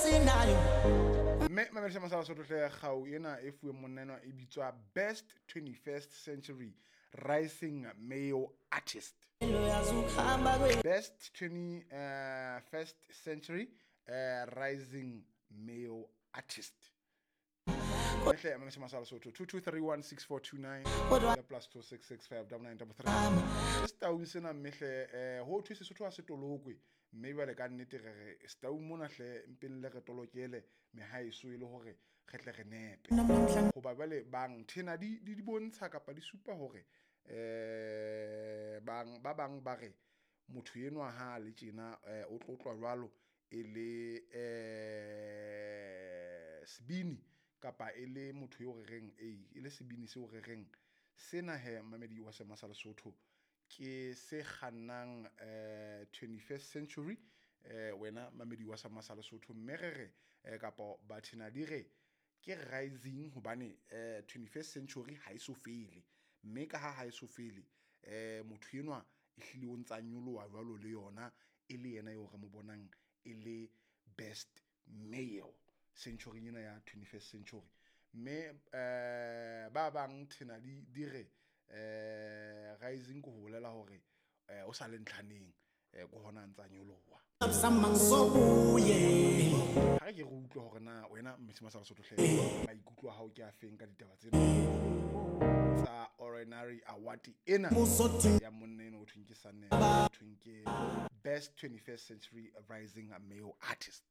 Mme mamedisa masala Sotho hle, kgau ena e fuweng monna enwa e bitswa Best 21st Century Rising Male Artist. Best 21st Century Rising Male Artist. Hle mamedisa masala Sotho, 22316429 le +266 59933. Ke setaung sena, mme hle ho thwe Sesotho ha se tolokwe, mme jwale ka nnete re re setaung mona hle mpeng le re tolokele mehaeso e le hore re tle re nepe, hoba jwale bang thena di bontsha kapa di supa hore bang ba bang ba re motho enwa ha le tjena o tlotlwa jwalo e le sebini kapa e le motho eo re reng e le sebini seo re reng sena he. Mamedi wa Sema sa Lesotho, ke se kgannang 21st century, wena mamedi wa Sama sa Lesotho, mme re re kapa bathena di re ke rising hobane 21st century ha e so fele, mme ka ha e so fele, motho enwa e hlile o ntsa nyoloha jwalo le yona, e le yena eo re mo bonang e le best male century ena ya 21st century. Mme ba bang thena di re rising ke ho bolela hore o sa le ntlhaneng, ke hona a ntsa nyoloha. Ha re ke re utlwe hore na wena Mmesi Masala Sotho hle, maikutlo a hao ke a feng ka ditaba tsena tsa honorary award ena ya monna eno ho thweng ke Sanele, ho thweng ke Best 21st Century Rising Male Artist.